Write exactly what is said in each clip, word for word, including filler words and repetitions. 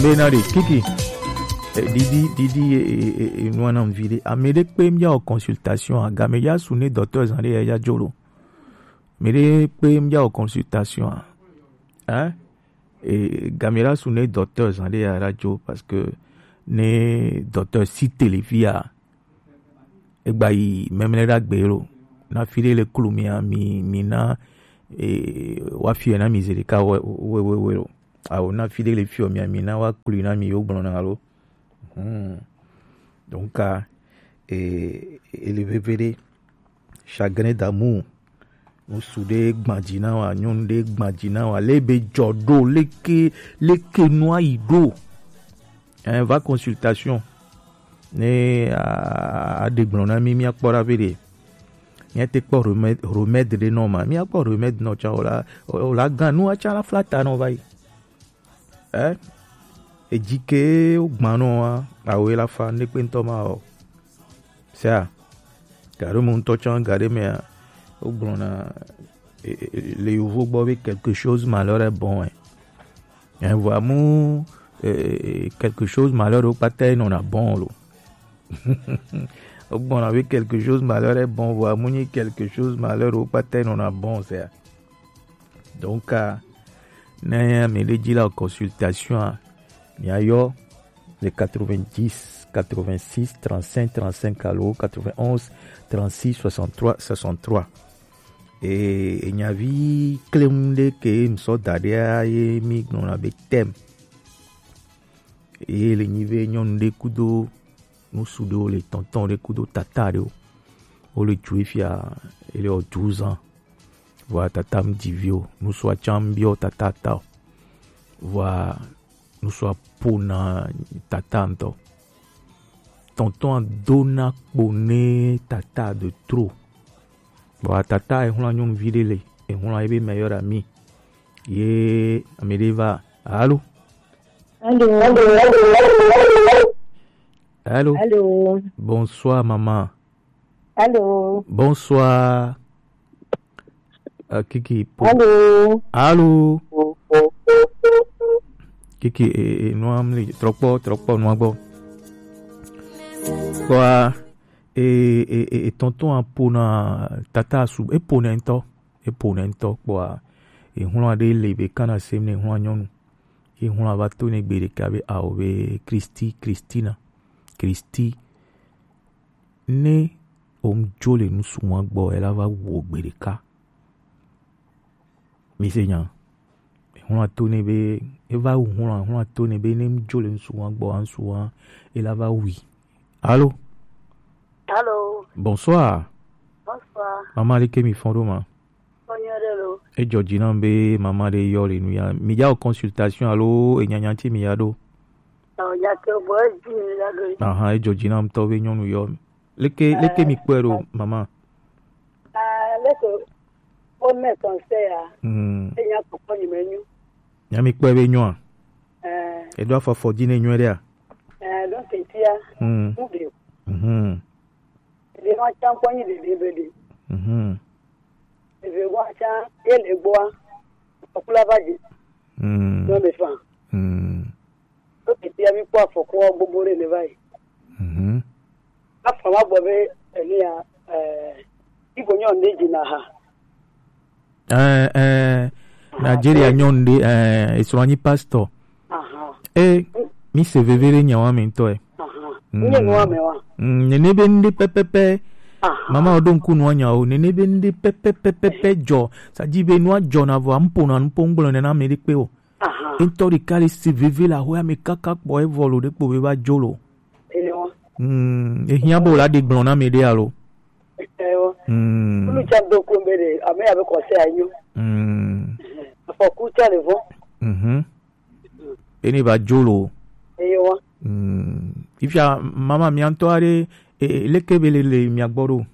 Bena de kiki. Eh, didi didi eh, eh, eh, nua na mvi de. Amede pe mia o consultation a game ya sune docteur zan de ya ya jolo. Mede pe mia o consultation a. Hein? E game la sune docteur zan de ya radio parce que ne docteur si televia. Egba yi memle ɖagbe lo. Na fi ɖe le klu mia mi mi na e, wa fi na mi zeli ka we we we we lo. Awo na fi ɖe le fi o mia mi na wa klu na mi yo gblɔ na lo. Hmm. Donc, ah, e, e le veve ɖe. Chagrin d'amour. Ŋsu ɖe gbadzi na wa, nyɔnu ɖe gbadzi na wa, le be jɔ ɖo, leke leke nua yi ɖo. Hein, va consultation. Ne a a ɖe gblɔ na mi, mi akpɔ ɖa be ɖe. Mi ate kpɔ remède remède ɖe nɔ ma. Mi akpɔ remède nɔ tsa o la o la gan nua tsa la fla ta nɔ va yi. Eh? Edzi ke wogbanɔ wa awoe la fa ne kpe ŋutɔ ma o. Sea, gaɖo me ŋutɔ tsã gaɖe mea, wogblɔna e, e, le yovo gbɔ be quelque chose malheur est bon, hein. Hein, vɔa mu e, e, quelque chose malheur wo kpata enɔna bon lo. Wogblɔna be quelque chose malheur est bon, vɔa mu nyi quelque chose malheur wo kpata enɔna bon, sea. Donc, ah, ne ame ɖe dzi la consultation a, miayɔ le quatre-vingt-dix, quatre-vingt-six, trente-cinq, trente-cinq alo quatre-vingt-onze, trente-six, soixante-trois, soixante-trois. E, e nyavi klem ɖe ke ŋsɔ da ɖea ye mi gblɔna be thème. Ye le nyi ve nyɔnu ɖe kudo ŋsu ɖewo le tɔntɔn ɖe kudo tata ɖewo. Wo le dzu fia, ele o douze ans. Vɔa tata ŋdi vi o, ŋsua tsã biɔ tata ta o. Vɔa ŋsua pona tata ŋutɔ. Tɔntɔn dona kpo ne tata de trop. Vɔa tata e hula nyɔnuvi ɖe le, e hula ebe meilleur ami. Ye ame ɖe va, alo? Allô. Allô. Allô. Allô. Bonsoir, maman. Allô. Bonsoir. Euh, Kiki. Po- Allô. Allô. Kiki, e, e, nua mli, trɔkpɔ, trɔkpɔ, nua gbɔ. Kpɔa, e, e, e, e, tɔntɔn a pona tata su, e pona ŋutɔ, e pona ŋutɔ kpɔa, e hula ɖe le be kana sem ne hula nyɔnu. Ye hula va to ne gbe ɖeka be ao be Kristi, Kristina, Kristi. Ne o mu jo le nusu wa gbɔ, e la va wo gbe ɖeka. Mi se nya. Hula to ne be, e va wu hula, hula to ne be ne mu jo le nusu wa gbɔ, ansu wa, e la va wi. Allô? Allô? Bonsoir. Bonsoir. Maman, aleke mi fɔn ɖo ma? Kpɔ nyuie ɖe lo. Edzɔ dzi nam be mama ɖe yɔ le nu ya. Mi ya wɔ consultation alo enyanya ŋuti mi ya ɖo? Ɔ, nya ke bɔ edzi mi ya ɖo. Ahan, edzɔ dzi nam tɔ be nyɔnu yɔ. Leke, leke mi kpɔe ɖo, mama? Ah, leke wo me conseil ya. Hmm. Enya kpɔkpɔ nyi me nyu. Nya mi kpɔe be nyɔa? Eh. Eɖo afɔ afɔ dzi ne nyuie ɖea? Eh, donc, tia. Hmm. Mu ɖe. Mhm. Ɖevi wa tsã kpɔ nyi ɖevi be ɖe. Mhm. Ɖevi wa tsã ye le gbɔa, afɔku la va dzi. Mm. Nɔ me fa. Mm. To teƒea mi kpɔ afɔkua gbogbo ɖe ne va yi. Mhm. Afɔ ma gbɔ be enia, eh, ibo nyɔ ne dzi na ha. Eh, eh, Nigeria nyɔnu ɖe, eh, esrɔ̃ nyi pastor. Aha. Eh, mi se veve ɖe nyawa me ŋutɔ, eh. Aha. Mm. Nye nua me wa. Mm, nene be ŋɖe pɛpɛpɛ. Aha. Mama, o ɖo ŋku nua nya o. Nene be ŋɖe pɛpɛpɛpɛpɛ dzɔ. Ça dit be nua dzɔ na vɔ, mpona, mpo ŋgblɔ nena me ɖe kpe o. Aha. Ŋutɔ ɖeka le se veve la ho ame kaka kpɔ evɔ lo ɖe kpo be va dzo lo. Ene wa. Mm, ehiã bo la ɖe gblɔ na me ɖe alo. Ewa. Mm. Ulu tsa do kun be ɖe, ame ya be kɔse anyo. Mm. Afɔku tsa le vɔ. Mhm. Eni va dzo lo. Eye wa. Mm. Ifia mama mia ŋutɔ aɖe, e, e, leke be le, le mia gbɔ ɖo?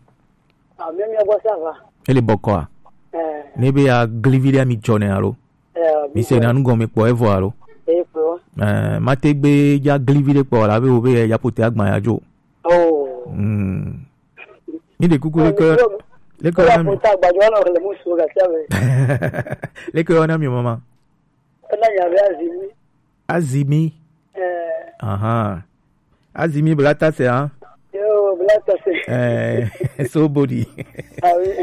Ah, mia, mia gbɔ ça va. Ele bɔkɔa? Eh. Ne be ya glivi ɖe mi dzɔ ne alo? Eh, mi se na nu gɔme kpɔ evɔ alo? Eh, kpɔ. Eh, mate gbe ya glivi ɖe kpɔ la be wo be ya pote agba ya dzo. Oh. Mm. Mi de kuku leke, leke na mi. Pote agba dzo na le musu ga sia be. Leke na mi mama. Ena nya be Azimi. Azimi. Aha. Azimi blatase, hein? Yo, blatase. Eh, so body. Ah oui.